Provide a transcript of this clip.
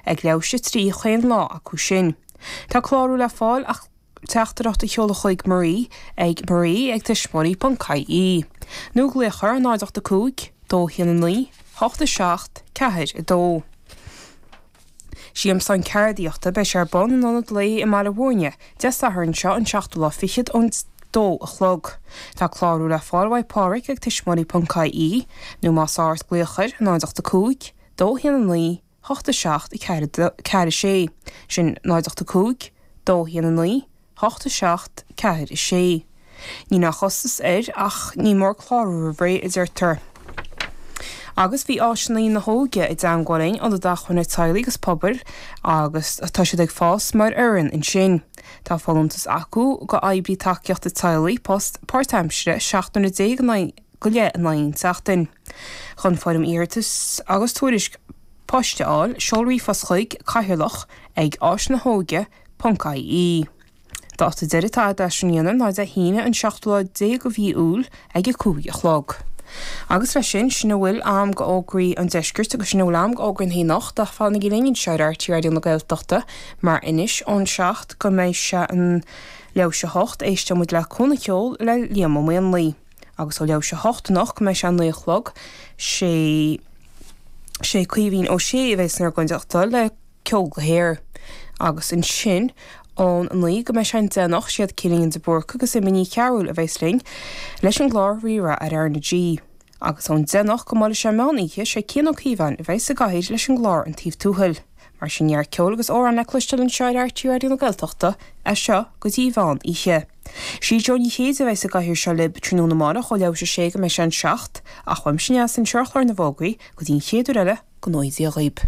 Ag leathuair tar éis a 3 chaon lá acu sin. Tá clárú le fáil ach teachtaireacht a sheoladh chuig Marie ag marie ag tuismitheoirí.ie nó glaoch ar 0 8 5 2 1 9 8 7 4 2. Siamsán Ceardaíochta, beidh sé ar bun in Ionad Lae i mBaile Mhúirne, Dé Sathairn seo an seachtú lá fichead ón 2 a chlog. Tá clárú le fáil uaidh Pádhraic ag tuismitheoirí.ie nó más ádh ort glaoch air 0 8 5 2 1 9 8 7 4 4 6, sin 0 8 5 2 1 9 8 7 4 6. Níl aon chostas air ach ní mór clárú roimh ré, a deirtear. Agus bhí Áiseanna na hÓige i dteangmháil linn, Ionad Acmhainne Teaghlaigh agus Pobail, agus tá siad ag fás mar fhoireann ansin. Tá folúntas acu go oibrí tacaíochta teaghlaigh, post páirtaimsire, 17 nuaire in aghaidh go leith in aghaidh an tseachtain. Chun foirm iarratais agus tuairisc poist a fháil, seol ríomhphost chuig, cathaoirleach ag áisnahóige ponc ie. Dáta deiridh atá leis sin a dhéanamh ná Dé hAoine an seachtú lá déag de mhí Iúil ag a 5 a chlog. Agus leis sin, sin a bhfuil a'm go fhógraí an deiscirt agus sin a bhfuil a'm go fhógraí na anocht ach fanaigí linn anseo ar RTÉ Raidió na Gaeltachta mar anois ón 7 go mbeidh sé an leathuair tar éis a 8 éisteoidh muid le Cúnamh Ceoil le Liam Ó Maonlaí. Agus ó leathuair tar éis a 8 anocht go mbeidh sé an 9 a chlog sé sé Caoimhín Ó Sé a bheidh inár gcuideachta le Ceol go hAer. Agus ansin ón 9 go mbeidh sé an 10 anocht, siad Cillian de Búrca agus Emma Ní Chearúil a bheas linn leis an gclár Rí-Rá ar R na G. Agus ón 10 anocht go mbuailfidh sé meán oíche, sé Cian Ó Cíobháin a bheas i gcathaoir leis an gclár An Taobh Tuathail. Mar sin neart ceoil agus amhrán le cloisteáil anseo ar RTÉ Raidió na Gaeltachta as seo go dtí mheán oíche. Sí Jó Ní Chéide a bheas i gcathaoir seo libh tráthnóna amárach ó leathuair tar éis a sé go mbeidh sé an 7, ach uaimse Neasa anseo ar chlár na bhfógraí go dtí an chéad uair eile, go ngnóthaí Dia dhaoib.